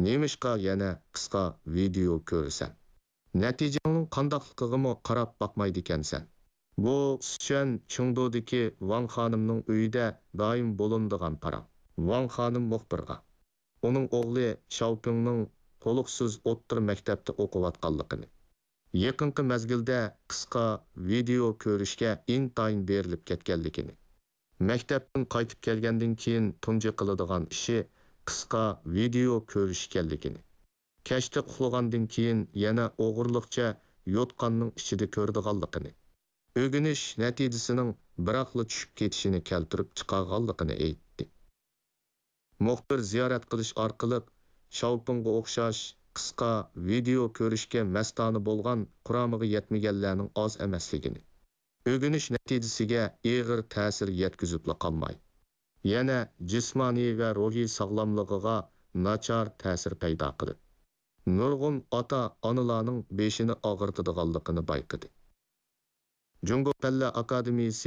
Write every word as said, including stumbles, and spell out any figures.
نېمىشقا يەنە قىسقا ۋىدېئو كۆرىسەن؟ نەتىجەڭنىڭ قانداقلىقىغىمۇ قاراپ باقمايدىكەنسەن. بۇ سىچۈەن چېڭدۇدىكى ۋاڭ خانىمنىڭ ئۆيىدە دائىم بولۇنىدىغان پاراڭ. ۋاڭ خانىم مۇخبىرغا ئۇنىڭ ئوغلى شاۋپىڭنىڭ تولۇقسىز ئوتتۇرا مەكتەپتە ئوقۇۋاتقانلىقىنى، يېقىنقى مەزگىلدە قىسقا ۋىدېئو كۆرۈشكە ئىنتايىن بېرىلىپ كەتكەنلىكىنى، مەكتەپتىن قايتىپ كەلگەندىن كېيىن تۇنجى قىلىدىغان ئىشى قىسقا ۋىدېئو كۆرۈش ئىكەنلىكىنى، كەچتە ئۇخلىغاندىن كېيىن يەنە ئوغرىلىقچە يوتقاننىڭ ئىچىدە كۆرىدىغانلىقىنى، ئۆگىنىش نەتىجىسىنىڭ بىراقلا چۈشۈپ كېتىشىنى كەلتۈرۈپ چىقارغانلىقىنى ئېيتتى. مۇخبىر زىيارەت قىلىش ئارقىلىق شاۋپىڭغا ئوخشاش قىسقا ۋىدېئو كۆرۈشكە مەستانە بولغان، قۇرامىغا يەتمىگەنلەرنىڭ ئاز ئەمەسلىكىنى، ئۆگىنىش نەتىجىسىگە ئېغىر تەسىر يەتكۈزۈپلا قالماي، يەنە جىسمانىي ۋە روھىي ساغلاملىقىغا ناچار تەسىر پەيدا قىلىپ، نۇرغۇن ئاتا-ئانىلارنىڭ بېشىنى ئاغرىتىدىغانلىقىنى بايقىدى. جۇڭگو پەنلەر ئاكادېمىيىسى